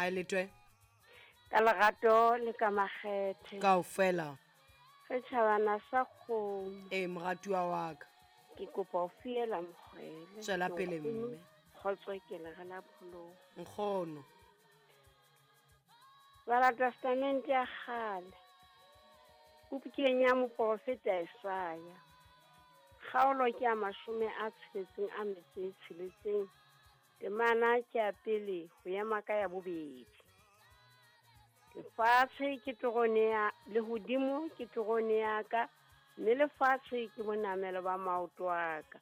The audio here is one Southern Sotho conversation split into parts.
Hae letwe. Ka lerato le ka makgethe. Kaofela. Re tjhabana sa kgomo. Ee, moratuwa wa ka. Ke kopa ho fiela mokgwele. Tswela pele mme. Kgotso ke lere la pholoho. Nkgono. Bala Testamente ya kgale. Bukeng ya moprofeta Isaya. Kgaolo ke ya 66. Temana ke ya pele ho ema ka ya bobedi. Lefatshe ke terone ya lehodimo ke terone ya ka, mme lefatshe ke bonamelo ba maoto a ka.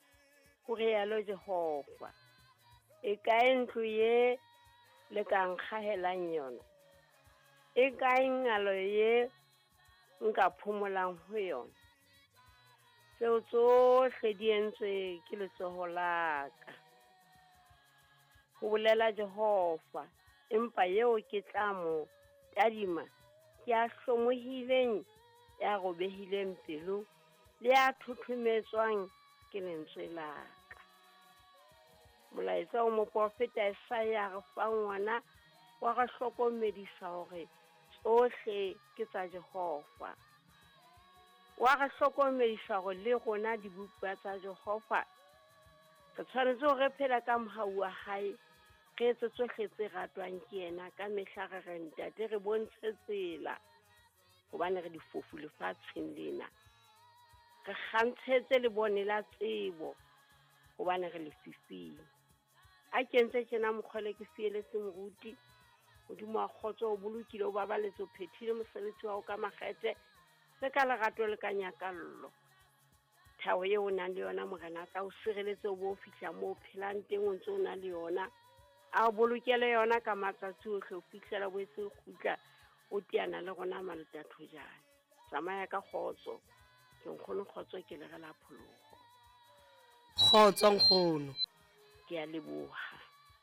Ho rialo Jehova. E kae ntlo ye le ka nkgahelang yona? E kae ngalo ye nka phomolang ho yona? Tseo tsohle di entswe ke letsoho la ka, ho bolela Jehova. Empa eo ke tla mo tadima ke ya hlomohileng, ya robehileng pelo, le ya thothometswang ke lentswe la ka. Molaetsa o moprofeta Isaya re fang wona wa re hlokomedisa hore tsohle ke tsa Jehova. Wa re hlokomedisa hore le rona dibupuwa tsa Jehova re tshwanetse hore re phele ka mohau wa hae, re etse tsohle tse ratwang ke yena ka mehla. Re re ntate re bontshe tsela, hobane re difofu lefatsheng lena. Re kgantshetse lebone la tsebo, hobane re lefifing. A kentse tjena mokgwele ke fieletse moruti. Modimo wa kgotso o bolokile, o babaletse, o phethile mosebetsi wa hao ka makgethe le ka lerato le ka nyakallo. Thabo eo o nang le yona Morena a tla o sireletse o bo fihla moo o phelang teng o ntse o na le yona. A o bolokele yona ka matsatsi ohle ho fihlela bo etse kgutla o teana le rona maletathojane. Tsamaya ka kgotso. Ke nkgono kgotso ke lere la pholoho. Kgotso nkgono. Ke a leboha.